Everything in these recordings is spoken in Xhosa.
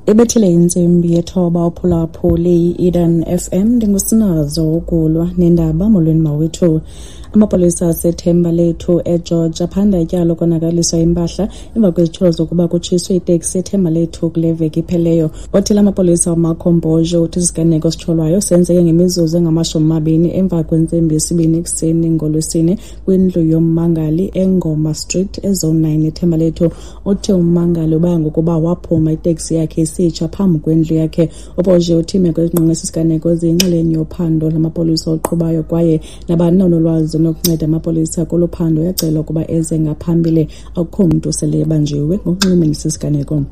Ibethile intsimbi yethoba uphulaphuli i-Eden FM. Ndingusinazo ukulwa nendaba. Molweni mawethu. Amapolisa aseThemba Lethu eGeorge aphanda ityala lokonakaliswa impahla emva kwezityholo zokuba kutshiswe iteksi eThemba Lethu kule veki ipheleyo. Othile amapolisa uMarco Mbojo uthi isiganeko esityholwayo senzeke ngemizuzu engama-20 emva kwentsimbi yesibini ekuseni ngoLwesine kwindlu yommangali eNgoma Street eZone 9 eThemba Lethu. Uthe ummangali uba ngokuba waphuma iteksi yakhe isitsha phambi kwendlu yakhe. UBoje uthi imeko ezingqonge esi siganeko ziyinxalenye yophando lamapolisa oluqhubayo, kwaye nabani na onolwazi onokunceda amapolisa kolu phando uyacelwa ukuba eze ngaphambili. Akukho mntu sele ebanjiwe ngokunxulumene nesi siganeko.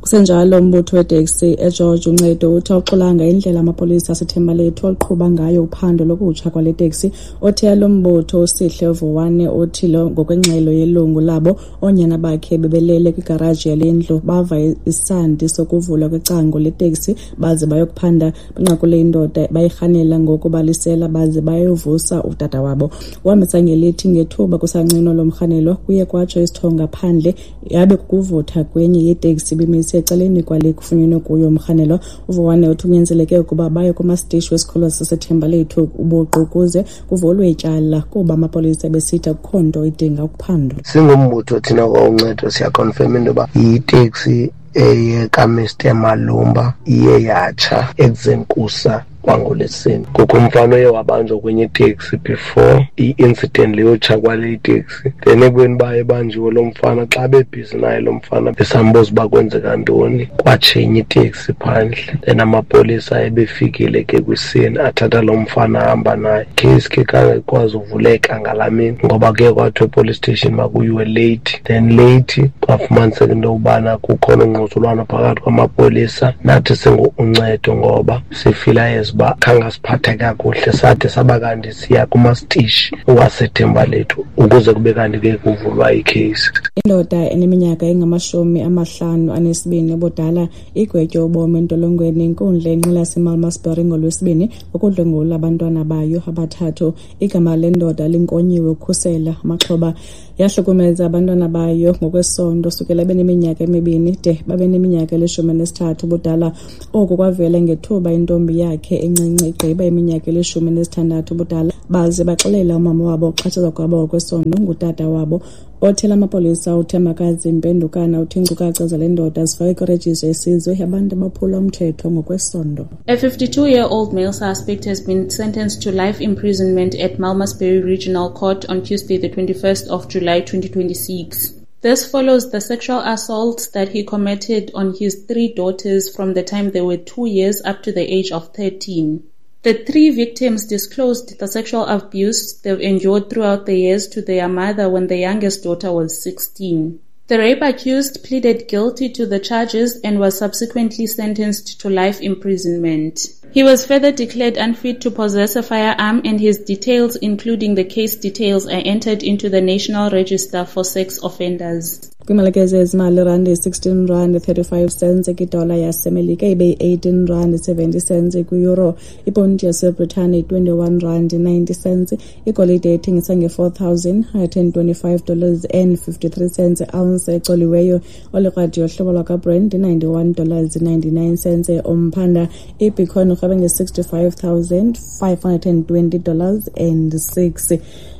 Kusenjalo, umbutho weteksi eGeorge Uncedo uthi awuxolanga indlela amapolisa aseThembalethu oluqhuba ngayo uphando lokutsha kwale teksi. Othe lo mbutho uSihle Vuwane uthi lo ngokwengxelo yelungu labo, oonyana bakhe bebelele kwigaraji yale ndlu, bava isandi sokuvulwa kwecango leteksi baze bayokuphanda. Banqakule indoda bayirhanela ngokubalisela baze bayovusa utata wabo. Uhambisa ngelithi ngethuba kusancinwa lo mrhanelwa, kuye kwatsho isithonga phandle yabe kukuvutha kwenye yeteksi ibimise ecaleni kwale kufunyenwe kuyo umrhanelwa. UVuwane uthi kunyanzeleke ukuba baye kumasitishi wesikhululo saseThemba Lethu ubuqu ukuze kuvulwe ityala, kuba amapolisa besithi akukho nto idinga ukuphandwa. Singumbutho thina kwaUncedo siyakhonfema into yoba yiteksi eyekaMr Malumba iye yatsha ekuzeni kusa kwangolwesine. Kukho umfana oye wabanjwa kwenye iteksi before i-incident leyo yotsha kwale iteksi. Then ekubeni uba ebanjiwe lo mfana, xa bebhizi naye lo mfana besambuza uba kwenzeka ntoni, kwatsha enye iteksi phandle. Then amapolisa ebefikile ke kwisini athatha lo mfana ahamba naye. Case ke khange ikwazi uvuleka ngalaa mini ngoba kuye kwathiwa epolice station makuyiwe late. Then late kwafumaniseka into yokubana kukhona ungquzulwano phakathi kwamapolisa nathi singu-Uncedo, ngoba sifila as uba khange asiphathe kakuhle, sade saba kanti siya kumasitishi waseThemba Lethu ukuze kube kanti ke kuvulwa ikheyisi. Indoda eneminyaka engama-52 ubudala igwetywe ubomi entolongweni inkundla enqila yaseMalmesbury ngoLwesibini ngokudlwengula abantwana bayo abathathu. Igama lendoda linkonyiwe ukukhusela amaxhoba. Yahlukumeza abantwana bayo ngokwesondo sukela beneminyaka 2 de babe neminyaka eli-13 ubudala. Oku kwavela ngethuba intombi yakhe encinci igqiba iminyaka eli-16 ubudala, baze baxelela umama wabo ukuxhatshazwa kwabo ngokwesondo ngutata wabo. Othela amapolisa uThembakazi Mpendukana uthi iinkcukacha zale ndoda zifakwe kwirejista yesizwe yabantu abaphula umthetho ngokwesondo. A 52-year-old male suspect has been sentenced to life imprisonment at Malmesbury Regional Court on Tuesday, the 21st of July 2026. This follows the sexual assaults that he committed on his three daughters from the time they were 2 years up to the age of 13. The three victims disclosed the sexual abuse they've endured throughout the years to their mother when the youngest daughter was 16. The rape accused pleaded guilty to the charges and was subsequently sentenced to life imprisonment. He was further declared unfit to possess a firearm, and his details, including the case details, are entered into the National Register for Sex Offenders. Kwimalike zezimali, irandi yi-16 rand 35 cents kwidola yaseMelika, ibe yi-18 rand 70 cents kwiyuro. Iponti yaseBritane yi-21 rand 90 cents. Igolide ithengisa nge-$4,125 dollars and 53 cents ounce ecoliweyo. Olikrwada yohlobo lwakwaBrent i-91 dollars 99 cents umphanda. Ibitcoin irhwebe nge-$65,520 dollars and 6.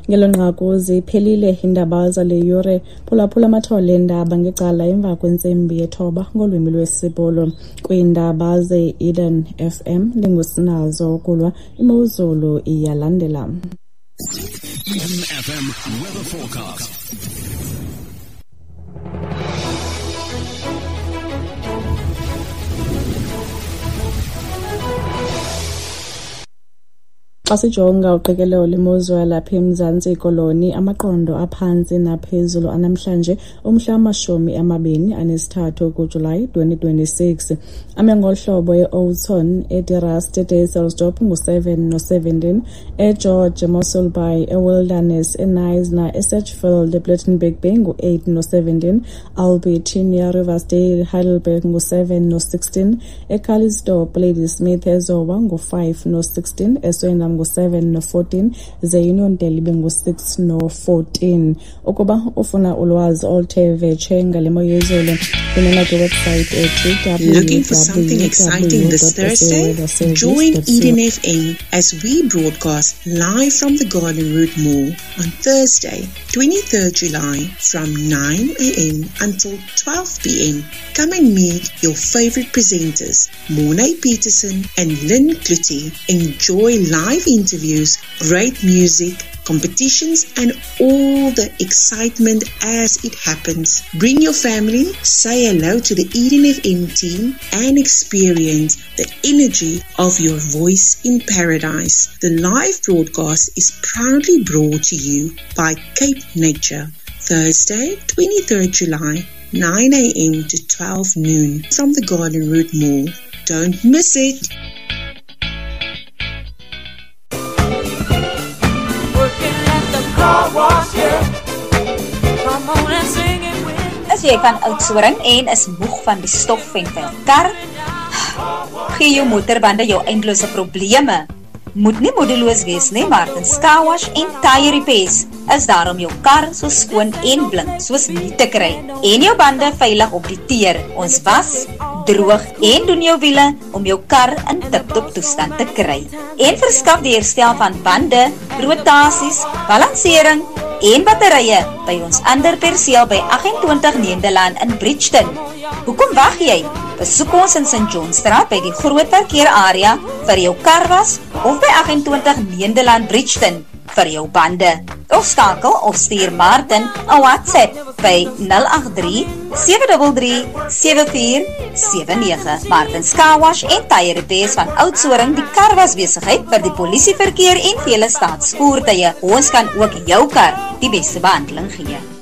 Ngelo nqaku ziphelile iindaba zale yure. Phulaphula amathole eendaba ngecala emva kwentsimbi yethoba ngolwimi lwesiBhulu. Kwiindaba ze-Eden FM ndingusinazo ukulwa. Imozulu iyalandela. Eden FM weather forecast. Xa sijonga uqikelelo lwemozulu yalapha eMzantsi Koloni, amaqondo aphantsi naphezulu anamhlanje umhla wama-23 kuJulayi 2026 ame ngolu hlobo: eOughton, eDe-Rust, eDysselsdorp ngu-7 no-17, eGeorge, eMossel Bay, eWilderness, eKnysna, eSedgefield, ePlettenberg Bay ngu-8 no-17, Albertinia, Riversdale, Heidelberg ngu-7 no-16, eCalitzdorp, Ladysmith, eZowa ngu-5 no-16, eSwellendam ngu-7 no-14, ze Uniondale ibe ngu-6 no-14. Ukuba ufuna ulwazi oluthe vetshe ngale mo yezulu, Kunye kwiwebsite ethi Looking for something exciting this Thursday? Join Eden FM as we broadcast live from the Garden Route Mall on Thursday, 23rd July from 9 a.m. until 12 p.m. Come and meet your favorite presenters, Mornay Peterson and Lynn Cloete. Enjoy live interviews, great music, competitions, and all the excitement as it happens. Bring your family, say hello to the Eden FM team, and experience the energy of your voice in paradise. The live broadcast is proudly brought to you by Cape Nature. Thursday, 23rd July, 9 a.m. to 12 noon from the Garden Route Mall. Don't miss it. Is jy van Oudtshoorn en is moeg van die stof en vuil kar? Gee jou motorbande jou eindelose probleme. Moet nie moedeloos wees nie, Martin's Car Wash en Tire Repairs is daar om jou kar so skoon en blink soos nie te kry en jou bande veilig op die teer. Ons was, droog en doen jou wiele om jou kar in tip-top toestand te kry. En verskaf die herstel van bande, rotasies, balansering en batterye by ons ander perseel by 28 Nederland in Bridgeton. Hoekom wag jy? Besoek ons in St. Johnstraat by die groot parkeerarea vir jou karwas of by 28 Nederland Bridgeton vir jou bande. Of skakel of stuur Martin 'n WhatsApp by 083 733 7479. Martin Car Wash en Tire Repairs van Oudtshoorn, die karwasbesigheid vir die polisieverkeer en vele staatsvoertuie. Ons kan ook jou kar die beste behandeling gee.